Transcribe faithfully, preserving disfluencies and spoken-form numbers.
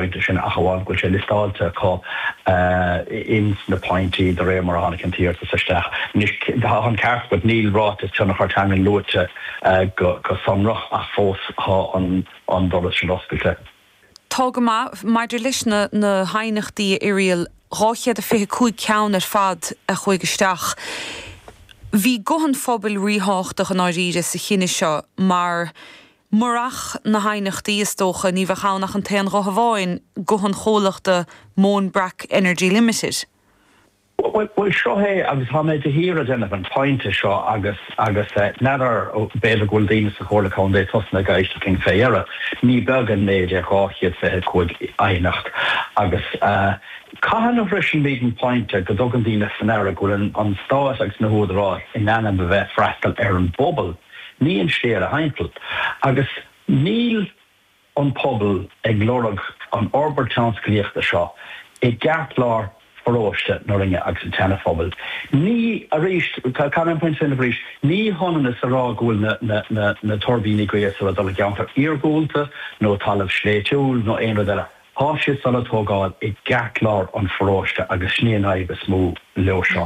pointe sin ach amháin go bhfuil sé liostáilte acu ins na pointí de réir mar a tháinig an t-iarratas isteach. Anois tá an ceart agat níl ráiteas tionchar teangan luaite go sonrach ach fós tá an doras sin oscailte. Tá go maith maidir leis na na haighneachtaí a Irial dhá chéad a fiche cúig ceann ar fad a chuaigh isteach. Bhí guth an phobail ríthábhachtach i ndáiríre sa chinneadh seo mar murach na haighneachtaí is dócha ní bheadh ann ach an t-aon ghuth amháin, guth an chomhlachta Móin Breac Energy Limited. Bhuel seo é agus tá mé de shíor ag déanamh an pointe seo agus agus n'fheadar b'fhéidir go bhfuil daoine sa Chomhairle Contae tosnaithe ag éisteacht linn fé dheireadh. Ní beag an méid é dhá chéad fiche cúig aighneacht agus cathain a shroisimid an pointe go dtugann daoine faoi ndeara go bhfuil an stát agus na húdaráis in ainm a bheith freastal ar an bpobal, ní an slí thimpeall. Agus níl an pobal ag lorg an fhorbairt tionsclaíochta seo i gceartlár pharóiste na Rinne agus an tSeana-Phobail. Ní, arís, caithfidh mé an pointe sin a arís, ní hionann is a rá go bhfuil na, na, na, na tuirbíní gaoithe ag dul i gceantar iargúlta nó talamh sléibhtiúil nó aon rud eile. Tá siad le tógáil i gceartlár an pharóiste agus sin í an fhadhb is mó leo seo.